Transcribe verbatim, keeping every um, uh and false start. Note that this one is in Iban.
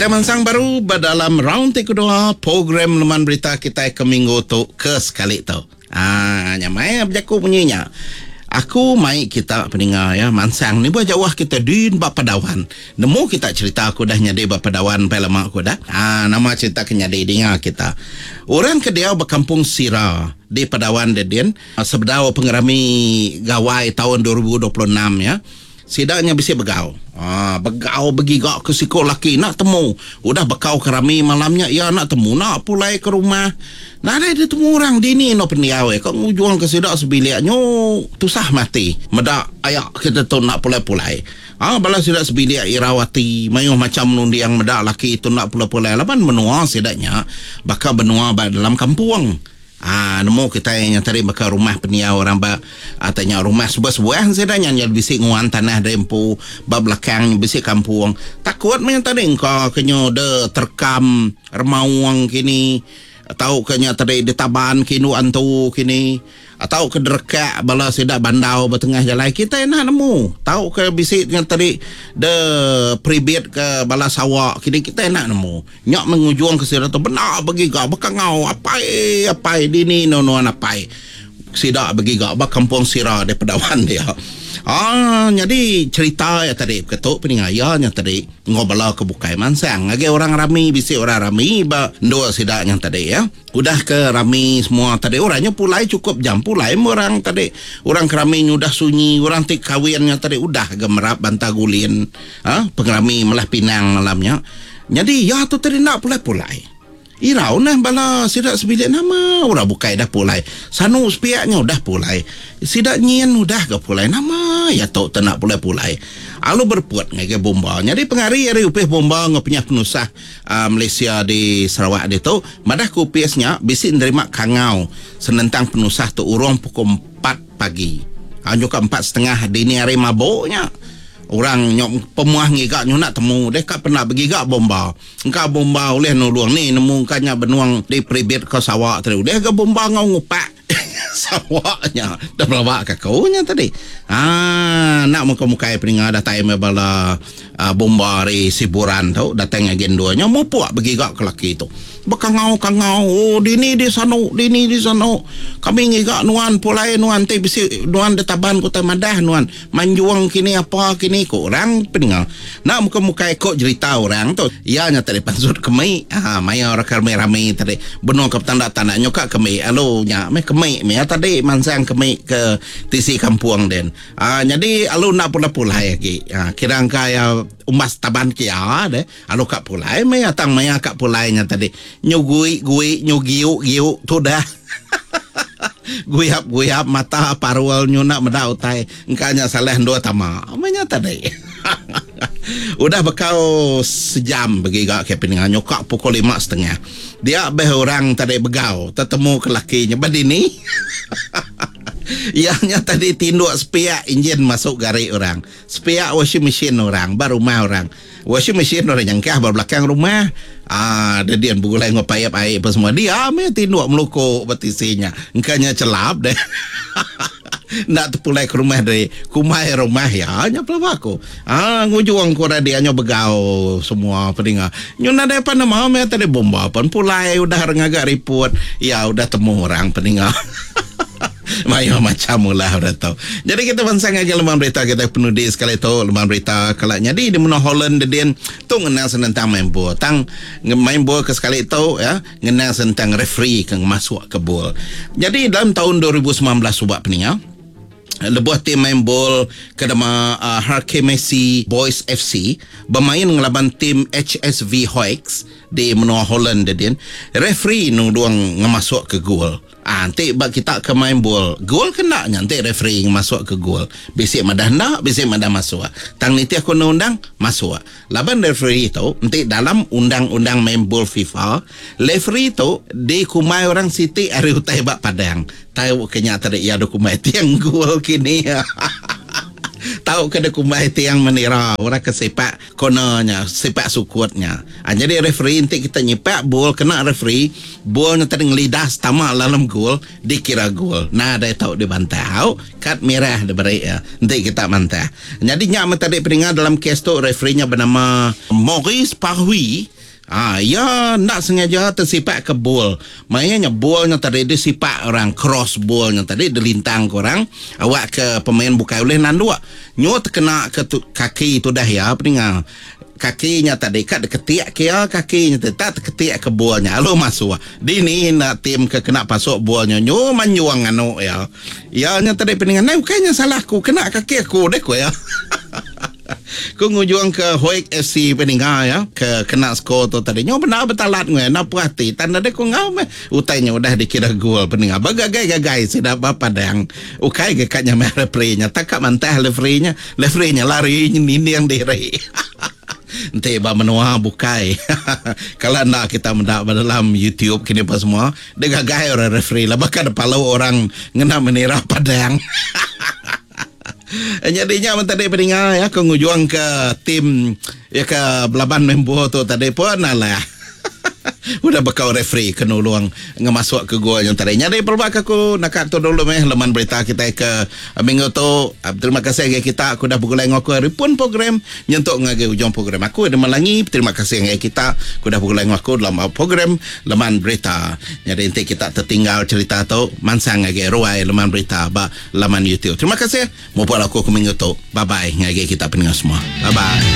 Kita mansang baru ba dalam round ti kedua program Leman Berita kitai ke minggu tu ke sekali tu. Ah, nya mai bejaku munyi nya. Aku mai kita peninga ya mansang ni bah jauh kita din ba Padawan. Nemu kita cerita aku dah nyadi ba Padawan pai lama aku dah. Ah, nama cerita ke nyadi dinga kita. Orang ke diau ba Kampung Sira di Padawan dedin sebedau pengerami Gawai taun dua ribu dua puluh enam ya. Sida nya bisi begau. Ah, begau begiga ke siku laki nak temu. Udah bekau ke rami malamnya ia nak temu nak pulai ke rumah. Nadai dia temu orang dini no pendiau eh. Kau ngujuang ke sida sebilik nyu tusah mati. Meda ayak kita tu nak pulai-pulai. Ah, bala sida sebilik irawati mayuh macam menundiang meda laki tu nak pulai-pulai laban menua sidanya baka benua ba dalam kampung. Ah, nemu kita yang tadi baka rumah pendiau orang ba atanya rumah sebuah-sebuah sidanya nya bisi nguan tanah dempu ba belakang bisi kampung. Takut men tadi engka kenyo de terkam remaung kini atau kenya tadi ditaban kinu antu kini atau ke derekak bala sida bandau bertengah jalan kita nak nemu tau ke bisi dengan tadi de pribit ke bala sawak kini kita nak nemu nyak mengujung ke sida tu benar begiga bekangau apai apai dini nonuan apai sida begiga ba kampung Sira di Padawan dia. Ah, jadi cerita ya tadi ketuk peningaya nya tadi ngobala ke bukai mansang lagi orang rami bisi orang rami ba ndua sida nya tadi ya. Udah ke rami semua tadi orangnya pulai cukup jam pulai orang tadi orang kerami udah sunyi orang ti kawin nya tadi udah gemerap bantah gulin ha pengerami melah pinang malamnya. Jadi ya tu tadi nak pulai-pulai. Irau nah bala sidak sebilik nama orang bukai dah pulai. Sanu sepiaknya udah pulai. Sidak nyin udah ke pulai nama ya tok tenak pulai-pulai. Alu berput ngagai bomba. Jadi pengari ari upih bomba ngopinya penusah uh, Malaysia di Sarawak ditu, madah ku upisnya bisi nerima kangau senentang penusah tu urung pukul empat pagi. Anju ke empat setengah dini hari mabuknya. Orang nyok pemuah ngigak nyu nak temu deh kak pernah bergigak bomba. Engkau bomba oleh nulung ni nemu kanya benuang di peribit ke sawak tadi. Udah ke bomba ngau ngupak sawaknya. Dah belawak ke kaunya tadi. Ah, nak muka-muka peninga datang bala uh, bomba ari Siburan tu datang agen duanya mupuk bergigak ke laki tu. Bekangau-kangau, oh dini di sanu, dini di sanu. Kami ngigak nuan pulai nuan ti bisi nuan detaban kota madah nuan. Manjuang kini apa kini ko orang peninga. Nak muka-muka ikut cerita orang tu. Ia nya tadi pansut kemi. Ha, maya orang rame-rame tadi. Benung ke petanda tanah nyokak kemi. Alu nya meh kemi meh tadi mansang kemi ke tisi kampung den. Ah, jadi alu nak pulai-pulai lagi. Ha, kira angka ya umas taban kia deh. Alu kak pulai meh atang maya kak pulainya tadi. Nyugui gui nyugiu giu tu dah. Guyap-guyap mata parwal nyunak meda utai engkanya salah dua tama. Amanya tadi. Udah bekau sejam begiga ke peningan nyokak pukul lima setengah. Dia beh orang tadi begau tetemu ke lakinya badini. Ianya tadi tinduk sepiak enjin masuk garik orang. Sepiak washing machine orang, bar rumah orang. Washing machine orang nyangkah bar belakang rumah. Ah, dia dia bergulai ngop payap air apa semua. Dia ame tinduk melukuk betisinya. Engkanya celap deh. Nak terpulai ke rumah dari kumai rumah ya nya pelaba aku. Ah, ngujuang ku dia nya begau semua peninga. Nyu nadai apa nama me tadi bomba pun pulai udah ngagak report. Ya udah temu orang peninga. Mayo macam ulah udah tahu. Jadi kita bansang lagi lembaga berita kita penudi sekali tu lembaga berita kalau jadi di menua Holland dedin tu ngenang senentang main bola. Tang main bola ke sekali tu ya ngenang senentang referee ke masuk ke bol. Jadi dalam tahun dua ribu sembilan belas subak peninga lebuh tim main bol ke nama uh, Harke Messi Boys F C bermain ngelaban tim H S V Hoeks di menua Holland dedin. Referee nuduang ngemasuk ke gol. Ah, nanti bak kita ke main bol, gol kena nanti referee masuk ke gol. Bisik madah nak, bisik madah masuk. Tang niti aku undang masuk. Laban referee tu nanti dalam undang-undang main bol FIFA, referee tu di kumai orang Siti ari utai bak Padang. Tahu kenya tadi ya do kumai tiang gol kini. Tau ke dikumbai tiang menira orang ke sipak corner nya, sipak sukut nya. Ha, jadi referee enti kita nyipak bol kena referee, bol nya tadi ngelidas tama dalam gol, dikira gol. Nadai tau dibantah. Au, kad merah diberi ya enti kita mantah. Jadi nya tadi peninga dalam kes tu referee nya bernama Maurice Parui. Ah, ya nak sengaja tersipak ke bol. Maknanya bolnya tadi disipak orang, cross bolnya tadi dilintang ke orang, awak ke pemain bukai boleh nanduk. Nyo terkena ke tu, kaki tu dah ya peninga. Kakinya tadi kat diketiak ke ya kakinya tadi tak terketiak ke bolnya lalu masuk. Dini nak tim ke kena pasuk bolnya nyo manyuang anu ya. Ya nya tadi peninga, nah bukannya salah aku kena kaki aku deh ko ya. Ku ngujuang ke Hoek F C peninga ya ke kena skor tu tadi. Nyo benar betalat ngue na puas hati. Tanda dia ku ngau meh utainya udah dikira gol peninga. Bagagai-gagai sida bapadang. Ukai ke kat nyamai referee-nya. Tak kat mantah referee-nya. Referee-nya lari ninding diri. Enti ba menua bukai. Kalau nak kita mendak dalam YouTube kini apa semua, dia gagai orang referee lah. Bahkan ada palau orang ngena menira padang. Jadinya tadi peninga ya ke ngujuang ke tim ya ke belaban membo tu tadi pun alah. Udah bekau referee ke nulung ngemasuk ke gol yang tadi. Jadi perbak aku nak tu dulu meh leman berita kita ke minggu tu. Terima kasih lagi kita aku dah bergulai dengan aku hari pun program nyentuk ngagi ujung program aku ada melangi. Terima kasih lagi kita aku dah bergulai dengan aku dalam program leman berita. Jadi nanti kita tertinggal cerita tu mansang lagi ruai leman berita ba laman YouTube. Terima kasih. Mau buat aku ke minggu tu. Bye bye ngagi kita pendengar semua. Bye bye.